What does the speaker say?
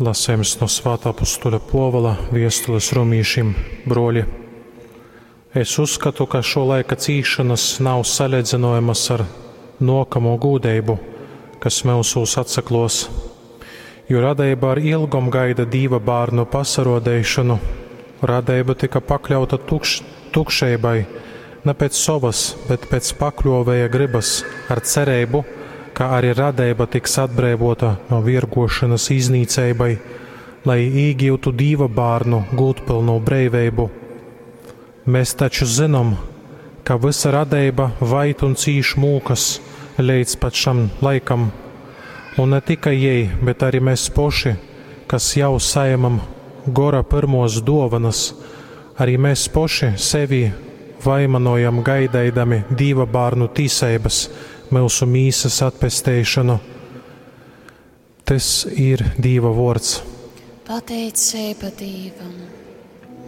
Lasejums no Svātā apustuļa Puovola viestules romīšim, bruoļi. Es uzskatu, ka šo laika cīšanas nav saleidzinojamas ar nuokamo gūdeibu, kas myusūs atsakluos. Jo radeiba ar ilgom gaida Dīva bārnu pasaruodeišonu. Radeiba tyka pakļauta tukš, tukšeibai, ne pēc sovas, bet pēc pakļuovēja grybas, ar cereibu, ka arī radeiba tiks atbreivota no viergošanas iznīceibai, lai īgiutu Dīva bārnu gūdpylnu breiveibu. Mēs taču zynom, ka vysa radeiba vaid un cīš mūkas leidz pat šam laikam, un ne tikai jei, bet arī mēs poši, kas jau saņemam gora pyrmos duovanas, arī mēs poši sevi vaimanojam gaideidami Dīva bārnu tīseibas, myusu mīsas atpesteišanu. Tys ir Dīva vuords. Pateiceiba Dīvam.